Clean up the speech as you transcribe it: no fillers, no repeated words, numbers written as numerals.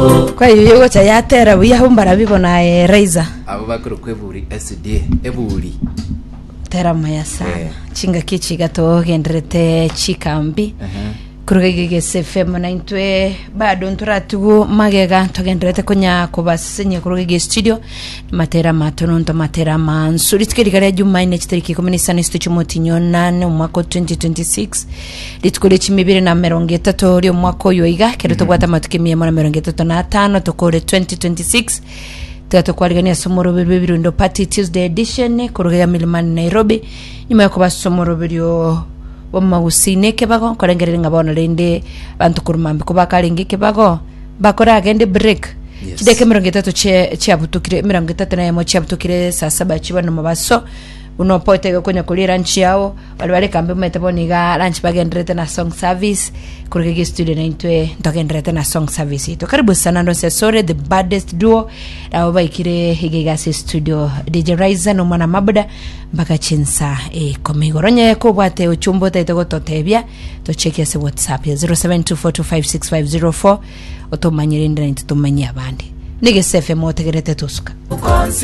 Kwa hiyo yogocha yatera buya abwo mbarabi bono aye Raiza. Abo bakorokwa eburi SDA eburi. Tera maya sana. Eh. Chingaki echi iga togenderete chikambi. Kuruga iga egese FM na intwe bado ntoratigu magega togenderete konya kobasesenia kuruga iga studio matera amatononto matera amansu rituko eriga ria Jumanne chitariki ikomi na isano isito chiomotinyi onane omwaka o 2026 Rituko ria chimibere na emerongo etato ri'omwaka oyo iga, ekero tobwate amatuko emia emo na emerongo etato na atano tokore 2026, tiga tokwarigania ase omoroberio bw'ebirundo party Tuesday edition koruga iga Milimani Nairobi, nyuma yokoba ase omoroberio bw'amagusii na ekebago, nkorengereria ng'a bono rende abanto korwa mambia kobakarenge ekebago, bakoragende break. Yes. Chidakika emerongo etato chie chiabutukire, emerongo etato na eyemo chiabutukire saa saba chibana mobaso, buna opoete iga konya koria eranchi yao, Baria bare kambe omanyete bono iga lunch bagendererete na song service koruga iga estudio na intwe ntogendererete na song service yaito. Karibu sana ndonse asore the baddest duo nabo baikire iga iga ase studio DJ Raiza na omwana Mabuda mpaka chinsa ikomi igoro. Onye kobwate ochumbe otaete gototebia tocheki ase WhatsApp ya 0724256504 otomanyire inde na intwe tomanyie abande. Negese FM otegerete tosuka.